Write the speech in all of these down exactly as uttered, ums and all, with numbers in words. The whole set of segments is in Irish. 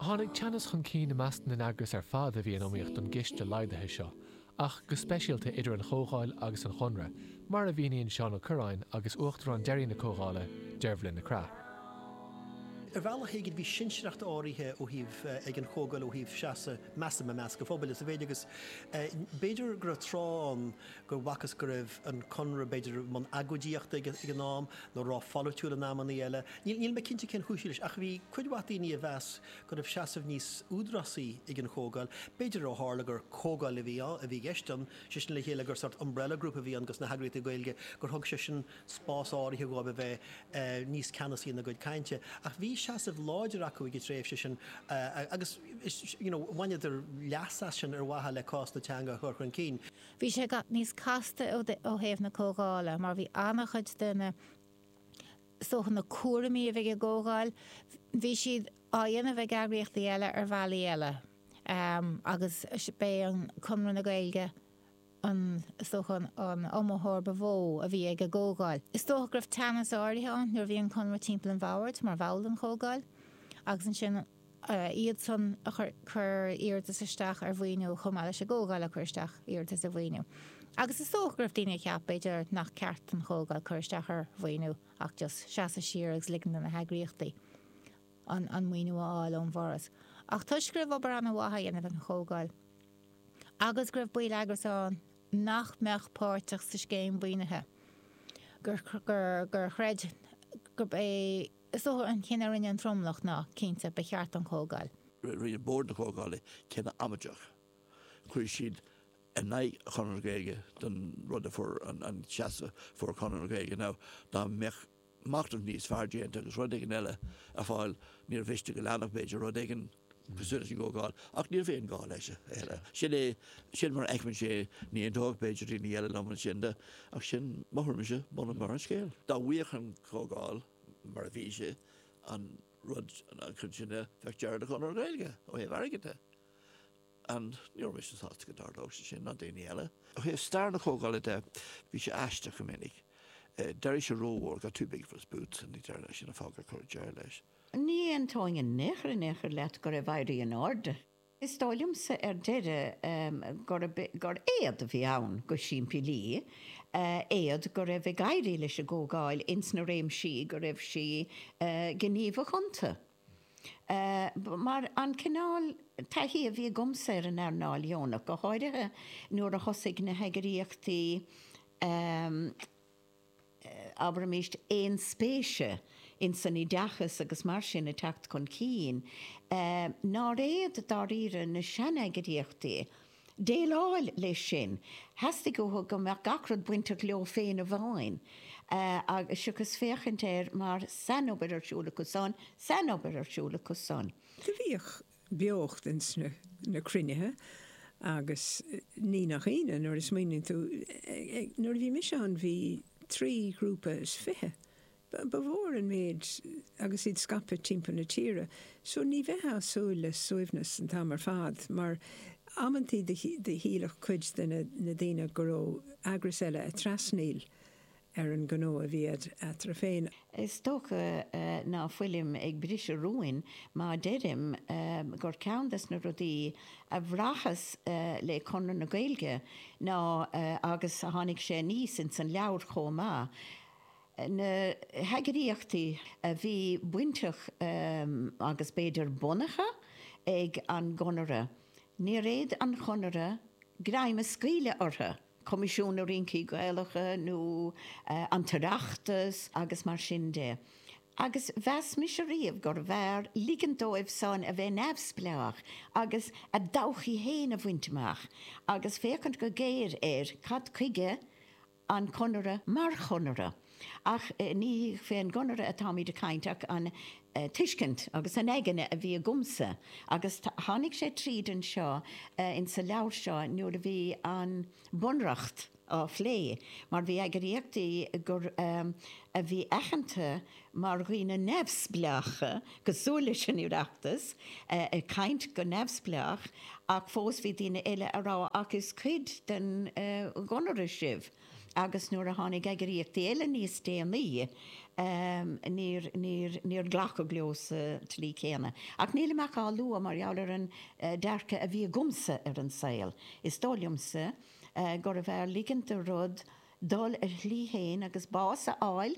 Tháinig teannas chun cinn i measc na n-eagras ar fad a bhí in iomaíocht don gciste laghdaithe seo, ach go speisialta idir an Chomhdháil agus an Chonradh, mar a mhíníonn Seán Ó Cuirreáin agus Uachtarán deiridh na Comhdhála, Dearbhla Nic Craith. Ar bhealach éigin bhí sinsearacht áirithe ó thaobh ag an Chomhdháil ó thaobh seasamh measaim i measc an phobail is a mhéid agus b'fhéidir go raibh tráth ann go bhfacthas go raibh an Conradh b'fhéidir i mbun agóidíochta ag an am nó rópholaitiúil in amannaí eile. Níl mé cinnte cén chúis leis ach bhí cuid mhaith daoine a mheas go raibh seasamh níos údarásaí ag an Chomhdháil. B'fhéidir ó tharla gur comhdháil a bhí a bhí i gceist ann, sé sin le chéile gur sort umbrella group a bhí ann dos na heagraíochtaí Gaeilge gur thug sé sin spás áirithe dóibh a bheith níos ceannasaí ina gcuid cainte. Ach bhí seasamh láidir acu ag an tréimhse sin agus you know, bhaineadar leas as sin ar mhaithe le cás na teanga a chur chun cinn. Bhí sé níos casta ó thaobh na Comhdhála, mar bhí an-chuid de na so na cúraimí a bhí ag an gComhdháil, bhí siad á dhéanamh ag eagraíochtaí eile ar bhealaí eile. Um, agus b'é an Conradh na Gaeilge an dócha an iomaitheoir ba mhó a bhí ag an gComhdháil. Is dócha go raibh teannas áirithe ann nuair a bhí an Conradh timpeall an bhoird mar bhall den Chomhdháil, agus ansin iad san a chur iarratas isteach ar mhaoiniú chomh maith leis an gComhdháil a chur isteach iarratas ar mhaoiniú. Agus is dócha go raibh daoine a cheap b'fhéidir nach ceart an Chomhdháil cur isteach ar mhaoiniú ach just seasamh siar agus ligean do na heagraíochtaí an, an maoiniú a fháil ón bhForas. Ach toisc go raibh obair an-mhaith á dhéanamh ag an Chomhdháil. Agus go raibh baill eagras ann nach mbeadh páirteach sa scéim mhaoinithe. Gur, gur, gur chreid gurb é is dócha an cinneadh a rinne an tromlach ná cinnte ba cheart an Chomhdháil. Rinne bord na Comhdhála cinneadh amaideach. Chuir siad in aghaidh Chonradh na Gaeilge don rud a fuair an, an seasamh fuair Conradh na Gaeilge now dá mbeadh machnamh níos fearr déanta agus rud éigin eile ar fáil níor mhiste go leanfadh b'fhéidir rud éigin cosúil leis an gComhdháil ach ní raibh aon ghá leis eile. Sin é sin mar a fheicimse é ní aontódh b'fhéidir daoine eile liom ansin de ach sin mo thuairimse bun mar an scéal. Dá bhfaigheadh an Chomhdháil mar a bhí sé an rud an chun sin bheadh deireadh le Conradh na Gaeilge ó thaobh airgid de. And ní raibh mise sásta go dtarlódh sé sin ná daoine eile. Ó thaobh stair na Comhdhála de bhí sé aisteach go minic. D'éirigh sé rómhór got too big for his boots and ní deir sin an fáth gur cuireadh deireadh leis. Ní aontóinn in aon chor in aon chor leat go raibh éirí in airde. Is dóigh liomsa ar deireadh gur gur éad a bhí ann go simplí, éad go raibh ag éirí leis an gComhdháil ins na réimsí go raibh sí gníomhach iontu. Mar an cineál taithí a bhí agamsa ar an earnáil dheonach, go háirithe nuair a thosaigh na heagraíochtaí abraimis aon spéise in san oideachas agus mar sin ag teacht chun cinn, nár fhéad dáiríre na seaneagraíochtaí déileáil leis sin. Theastaigh uathu go mbeadh gach rud bainteach leo féin amháin, agus seachas féachaint air mar sainobair ar siúl acu san, sainobair ar siúl acu san. Do bhíodh beocht ins na, na cruinnithe agus ní nach ionadh nuair a smaoiníonn tú nuair a bhí mise ann bhí trí ghrúpa is fiche. Ba mhór an méid agus iad scaipthe timpeall na tíre, so ní bheifeá ag súil le suaimhneas an t-am ar fad mar amantaí do shílfeadh cuid de na daoine go raibh eagras eile ag trasnaíl ar an ngnó a bhí eatarthu féin. Is dócha ná fuilim ag briseadh rúin má deirim gur ceann des na rudaí a bhraitheas le Conradh na Gaeilge ná, agus tháinig sé aníos ins an leabhar chomh maith, na heagraíochtaí a bhí bainteach agus b'fhéidir bunaithe ag an gConradh, níor fhéad an Conradh greim a scaoileadh orthu, Coimisiún na Rincí Gaelacha nó an tOireachtas agus mar sin de. Agus mheas mise riamh gurbh fhearr ligint dóibh san a bheith neamhspleách agus a dtodhchaí féin a bhaint amach agus féachaint go géar ar cad chuige an Conradh mar chonradh. Ach ní fén gConradh atáimid ag caint ach an tuiscint agus an aigne a bhí agamsa agus tháinig sé tríd anseo insa leabhar seo nuair a bhí an Bunreacht á phlé mar bhí eagraíochtaí gur a bhí aitheanta mar dhaoine neamhspleácha cosúil leis an Oireachtas ag caint go neamhspleách ach fós bhí daoine eile a rá ach is cuid den gConradh sibh. Agus nuair a tháinig eagraíochtaí eile níos déanaí, níor, níor, níor glacadh leo sa tslí chéanna. Ach nílim ach á lua mar gheall ar an dearcadh a bhí agamsa ar an saol. Is dóigh liomsa gurbh fhearr ligint do rud dul a shlí féin agus bás a fháil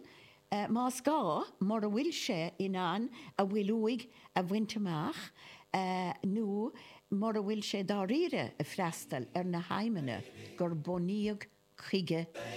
más gá, mura bhfuil sé in ann a bhfuil uaidh a bhaint amach nó mura bhfuil sé dáiríre ag freastal ar na haidhmeanna gur bunaíodh chuige